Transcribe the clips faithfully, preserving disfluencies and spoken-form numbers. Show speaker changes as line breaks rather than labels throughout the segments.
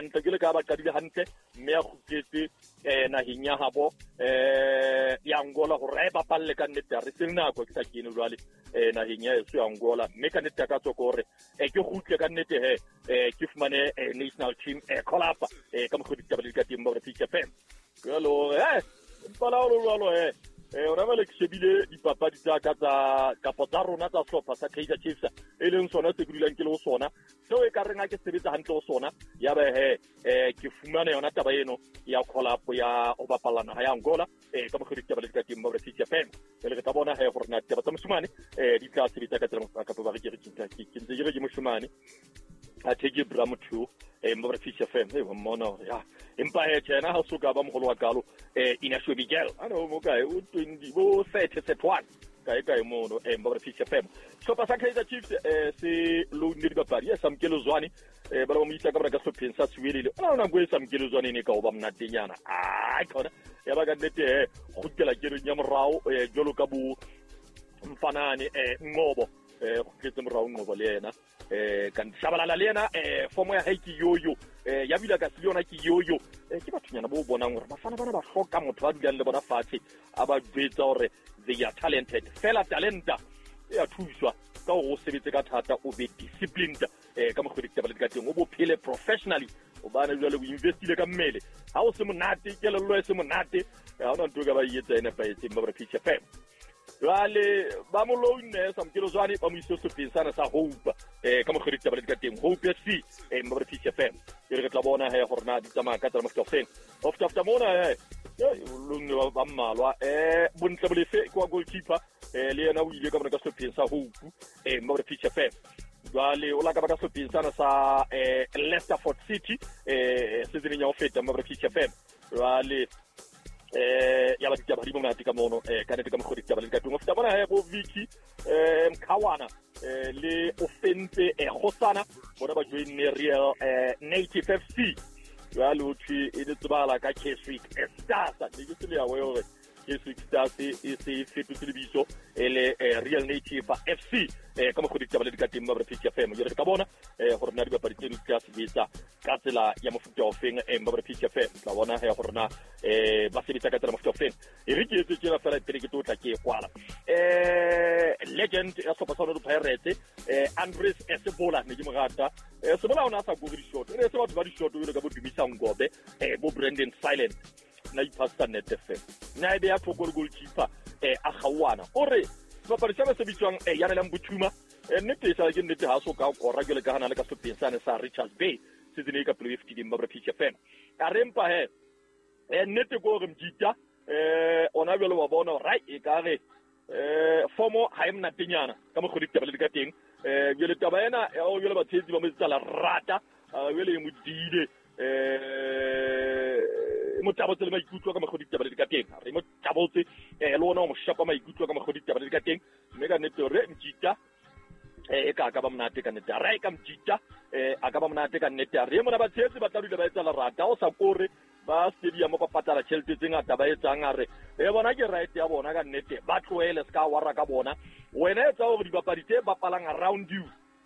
hantle ke le ka ba qadile hantle mme a kgutletse eh naheng ya habo eh ya Angola hore e bapalle ka nnete re se nako ke sa kene jwale eh naheng ya eso ya Angola mme ka nnete ka tsoko hore eh ke kgutle ka nnete he eh ke fumane national team eh call up eh ka mokgwa ditaba le ka teng ba re F M jalo eh mpala o jalo eh eh ora ba le ke shebile dipapadi tsa ka tsa kapo tsa rona tsa sehlopha sa Kaizer Chiefs e leng sona se ke dulang ke le ho sona seo e ka reng ha ke sebetsa hantle ho sona ya ba he eh ke fumana yona taba eno ya call up ya ho bapala naha ya Angola eh ka mokgwa ditaba le ka teng ba re F M le re tla bona he gore na ditaba tsa moshimane eh di tla sebetsa ka tsela kapo ba re ke re ke ntse ke re ke moshimane a theke bra motho eh mba re F M e mmona ya empa he tjena ha so ka ba mogolo wa kalo eh Inacio Miguel ano mo kae o twenty bo thirty one kae kae mono eh mba re F M sehlopha sa Kaizer Chiefs eh se loanne dibapadi ya Samkelo Zwane eh ba ba mo isa ka bana ka sehlopheng sa Siwelele ona ona go e Samkelo Zwane ne ka o ba mnatenyana ai khona ya ba ka nnete he kgutlela kereng ya morao eh jwalo ka bo mfanane eh Ngobo eh kgutletse morao Ngobo le yena eh ka ntlabalala le yena eh fomo ya hae ke yoyo eh ya bila ka se yona ke yoyo eh ke bathunyana bo bonang hore bafana bana ba hloka motho ba dulang le bona fatshe a ba jwetsa hore they are talented fela talenta ya thuswa ka hore o sebetse ka thata o be disciplined eh ka mokgwa ditaba le ka teng o bophele professionally o bana jwale o investile ka mmele ha o se monate kelello e se monate ha ona ntho ka ba etsa ene pa etseng ba re F M jwale ba mo loanne Samkelo Zwane ba mo ise sehlopheng sana sa Hope eh ka mokgwa ditaba le ka teng Hope F C eh ba re F M e re tla bona he gore na di tsamaya ka tsela mofuta ofeng after after mona he loanne ba mmalwa eh Bontle Bolefe ke wa goalkeeper eh le yena o ile ka bona ka sehlopheng sa Hope eh ba re F M jwale o la ka ba ka sehlopheng sana sa eh Leicesterford City eh season ya ho feta ba re F M jwale eh ya ba ditaba di monate ka mono eh ka nete ka mokgwa ditaba le ka teng o feta bona he bo Vicky eh Mkhawana eh le Ofentse eh Khosana bona ba joinne Real eh Native F C jwale o thwe e le tsebala ka Keswick Stars ne ke se le ya hore Keswick Stars e se fetotse lebitso e le Real Native F C eh ka mokgwa ditaba le ka teng ba re F M jwale re ka bona eh gore na dibapadi tse di tla sebetsa ka tsela ya mofuta ofeng eh ba re F M tla bona he gore na eh ba sebetsa ka tsela mofuta ofeng e re ke etse tjena fela pele ke tlo tla ke kwala eh legend ya sehlopha sa Orlando Pirates eh Andres Sebola ne ke mo rata eh Sebola ona sa go di shot e se batho ba di shot jwalo ka bo Dumisa Ngobe eh bo Brandon Silent na ipasta net F M na ebe ya thoko le goalkeeper eh a gawana o re sebapadi sa se bitswang eh Yanelang Buthuma eh nnete e sa ke nnete ha so ka kora jwale ka hana le ka sehlopheng sane sa Richards Bay season e ka pele e fetileng ba re F M a re mpa he eh nnete ko re mjita eh ona jwale wa bona right e ka re eh fomo ha e mnatenyana ka mokgwa ditaba le ka teng eh jwale taba ena ya o jwale batshetsi ba mo etsa la rata jwale e modile eh mo tabotse le maikutlo ka mokgwa ditaba le ka teng re mo tabotse eh le ona o mo shapa maikutlo ka mokgwa ditaba le ka teng mme ka nnete re mjita eh ka ka ba monate ka nnete re ka mjita eh a ka ba monate ka nnete re mona batshetsi ba tla dula ba etsa la rata o sa kore ba stadium ba patala tjhelete tse ngata ba etsang a re e bona ke right ya bona ka nnete ba tlohele ska wara ka bona wena etsa hore dibapadi tse bapalang around you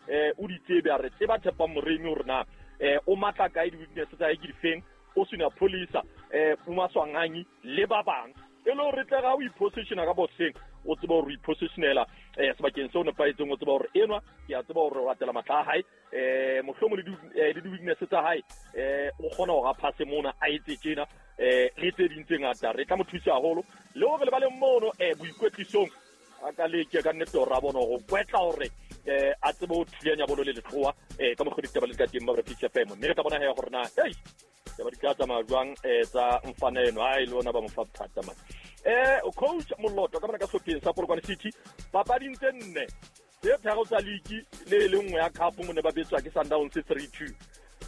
eh o di tsebe a re tseba Tshepang Moremi hore na eh o matla kae di weakness tsa hae ke difeng o sena police eh uma Swanganyi le ba bang e le hore tle ga o ipositiona ka boxeng o tseba hore o ipositionela eh sebakeng seo nepahetseng o tseba hore enwa ke a tseba hore o latela matla a hae eh mohlomong le di weakness tsa hae eh o kgona hore a passe mona a etse tjena eh le tse ding tse ngata re tla mo thusa haholo le hore le ba le mono eh boikwetlisong a ka leke ka nnete hore a bone hore kwetla hore eh a tsebe ho thulanya bolo le letloa eh ka mokgwa ditaba le ka teng ba re F M mme re tla bona he hore na hey ba di tla tsamaya jwang eh tsa mfana eno ha e le ona ba mo fa bothata man eh coach Moloto ka mona ka sehlopheng sa Polokwane City papading tse nne tse tharo tsa league le le nngwe ya cup mo ne ba betswa ke Sundowns three two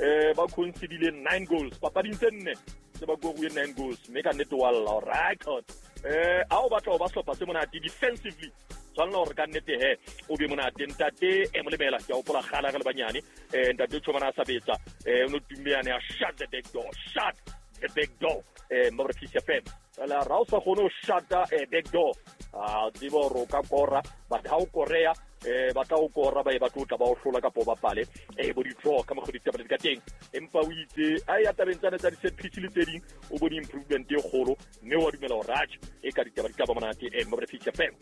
eh ba concedile nine goals papading tse nne tse ba goruwe nine goals mme ka nnete wa lla record eh a o batla ho ba sehlopha se monate defensively tshwanela hore ka nnete he o be monate ntate e molemela ke a hopola kgala re le banyane eh ntate Tshomana a sa betsa eh o no tumeane ya shut the back door shut the back door eh mba re F M la ra o sa kgone ho shut the back door a tseba hore o ka kora but ha o korea eh ba tla o kora ba e ba tlotla ba o hlola kapo ba pale eh bo di draw ka mokgwa ditaba di ka teng empa o itse a ya tabeng tsane tsa di-set piece le tse ding o bone improvement e kgolo mme wa dumela hore atjhe e ka ditaba di tla ba monate eh mo re Fish F M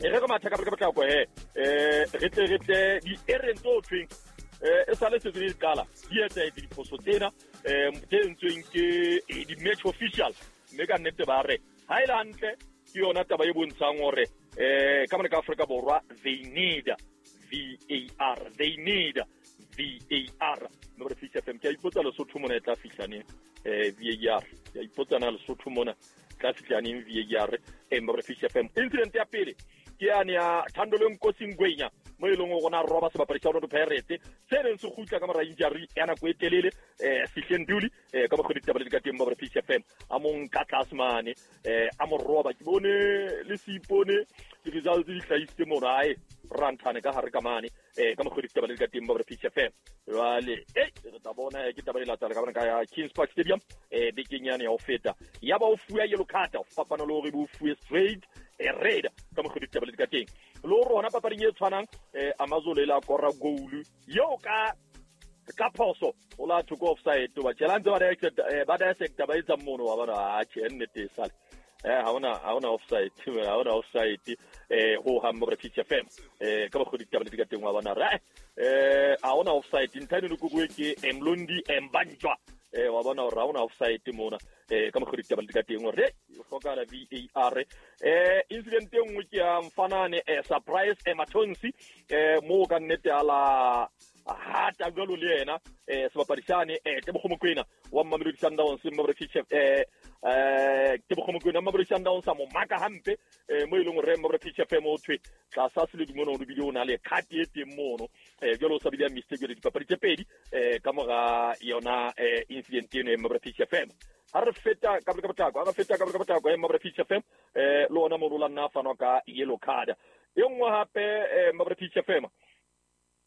e re re matha ka ka potlako he eh re tle re tle di-errors tse thweng eh e sale se di qala di etsa diphoso tsena eh tse entsweng ke di-match official mme ka nnete ba re ha e le hantle ke yona taba e bontshang hore eh ka mona ka Afrika Borwa they need V A R they need V A R no re Fish F M ke a ipotsa Lesotho mona e tla fihla neng eh V A R ke a ipotsa na Lesotho mona tla fihla neng V A R eh mo re Fish F M incident ya pele ke yane ya Thandolo Nkosi Ngwenya mo e leng gore na roba sebapadi sa Orlando Pirates se neng se kgutla ka mora injury ya nako e telele eh Sihle Nduli eh ka mokgwa ditaba le di ka teng mo re Fish F M a mo nka tlase mane eh a mo roba ke bone le seipone di-results di hlahisitse mono ae ranthane ka hare ka mane eh ka mokgwa ditaba le di ka teng mo re Fish F M jwale eh re tla bona ke taba e latela ka bona ka ya Kings Park Stadium eh bekeng yane ya ho feta ya ba o fuwa yellow card fapana le hore bo fuwe straight e red ka mokgwa ditaba le di ka teng le hore hona papading e tshwanang eh Amazulu e la kora goal eo ka ka phoso o la thoko offside ba tjela ntse ba dissect ba dissect ba etsa mono wa bona a tjhe nnete sale eh ha ona ha ona offside ha ona offside eh ho ha mo re Fish F M eh ka mokgwa ditaba le di ka teng wa bona re eh ha ona offside ntlha eno ke bue ke Mlondi Mbanjwa eh wa bona hore ha ona offside mona eh ka mokgwa ditaba le di ka teng hore o hlokahala V A R eh incident e nngwe ke ya mfanane eh Surprise Ematonsi eh mo ka nnete ala hata jwalo le yena eh sebapadi sane eh Tebogo Mokoena wa Mamelodi Sundowns mo re Fish eh eh Tebogo Mokoena wa Mamelodi Sundowns a mo maka hampe eh mo e leng hore mo re Fish F M o thwe tlasa se le dimono o bile o na le card e teng mono eh jwalo o sa bile ya mistake le dipapadi tse pedi eh ka mora yona eh incident eno e mo re Fish F M ha re feta ka ka potlako ha re feta ka ka potlako e mo re Fish F M eh le ona mo la nna fanwa ka yellow card e nngwe hape eh mo re Fish F M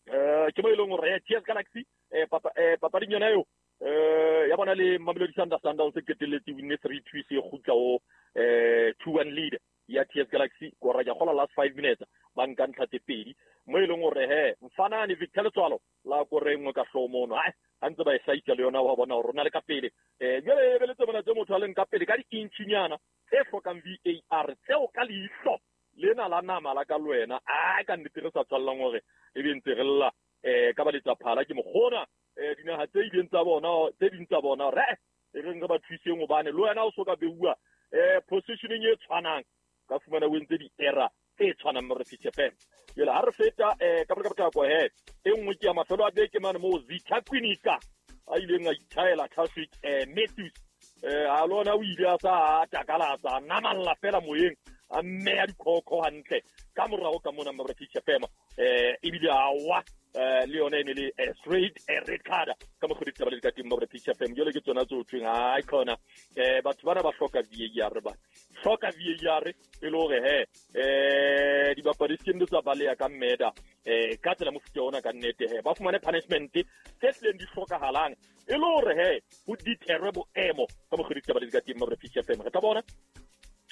eh ke mo e leng hore T S Galaxy eh papa eh papading yona eo eh ya bona le Mamelodi Sundowns se qetelletse winne three two se kgutla o eh two one lead ya T S Galaxy kora ya gola last five minutes ba nka ntlha tse pedi mo e leng hore he mfanane Victor Letsoalo la kore nngwe ka hloho mono ai a ntse ba e hlaisa le yona wa bona hore rona le ka pele eh jwale e beletse bona tse motho a leng ka pele ka di-inchinyana tse hlokang V A R tseo ka leihlo lena la nama la ka le wena a ka nnete re sa tshwallang hore e be ntse re lla eh ka ba letsaphala ke mokgona eh dinaha tse ileng tsa bona tse ding tsa bona re e reng re ba thuseng hobane le wena o so ka beuwa eh positioning e tshwanang ka fumana o entse di-error tse tshwanang mo re Fish F M jwale ha re feta eh ka ka potlako he e nngwe ke ya mafelo a beke mane mo Zitha Kwinika a ileng a ithaela Traffic eh Matthews eh a lona o ile a sa takalatsa namalla fela moyeng a mmeya dikhokho hantle ka morao ka mona mo re Fish F M eh ebile a wa le yona e ne le straight red card ka mokgwa ditaba le di ka teng mo re Fish F M jwale ke tsona tse o thweng hai khona eh batho bana ba hloka V A R ba hloka V A R e le hore he eh dibapadi se ke tsa baleha ka mmeda eh ka tsela mofuta ona ka nnete he ba fumane punishment tse tleng di hlokahalang e le hore he ho deterwe boemo ka mokgwa ditaba le di ka teng mo re Fish F M re tla bona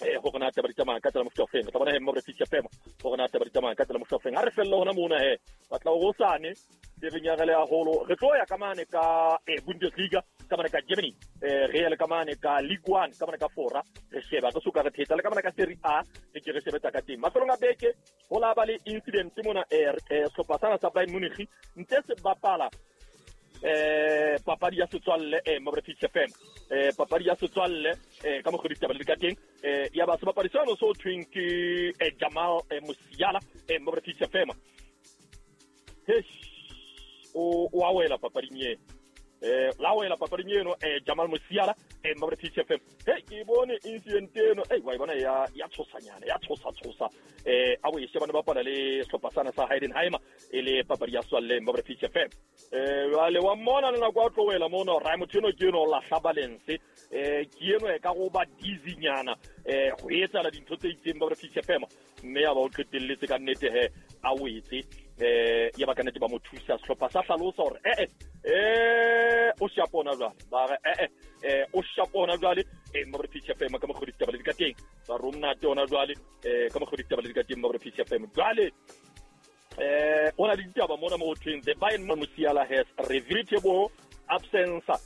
eh go gona taba di tsamaya ka tsela mofuta o feng re tla bona he mo re Fish F M go gona taba di tsamaya ka tsela mofuta o feng ha re fella hona mona he batla go sane re re nyagele haholo re tlo ya ka mane ka eh Bundesliga ka mane ka Germany eh re ya le ka mane ka Ligue one ka mane ka Fora re sheba re suka re thetsa le ka mane ka Serie A re ke re shebetsa ka teng mafelong a beke ho la ba le incident mona eh sehlopha sana sa Bayern Munich ntse se bapala eh papadi ya setswalle eh mo re Fish F M eh papadi ya setswalle eh ka mokgwa ditaba le ka teng eh ya ba sebapadi seno so thweng ke eh Jamal eh, Musiala eh mo re Fish F M he o o a wela papading e eh la wela papading eno eh Jamal Musiala eh mo re Fish F M he ke bone incident eno eh wa bona ya ya tshosanyana ya tshosa tshosa eh a bo e shebana bapala le sehlopha sana sa Heidenheim e le papadi ya setswalle mo re Fish F M eh jwale wa mmona le nako a tlo wela mono ra motho eno ke eno o lahla balance eh ke eno e ka go ba dizzy-nyana eh go etsala dintho tse itseng ba re Fish F M mme ya ba o qetelletse ka nnete he a wetse eh ya ba ka nnete ba mo thusa sehlopha sa hlalosa hore eh eh o shapona jwale ba re eh eh o shapona jwale eh mo re Fish F M ka mokgwa ditaba le di ka teng ba romna tona jwale eh ka mokgwa ditaba le di ka teng mo re Fish F M jwale Eh o na le ditaba mona mo ho thweng the Bayern Musiala has regrettable absence.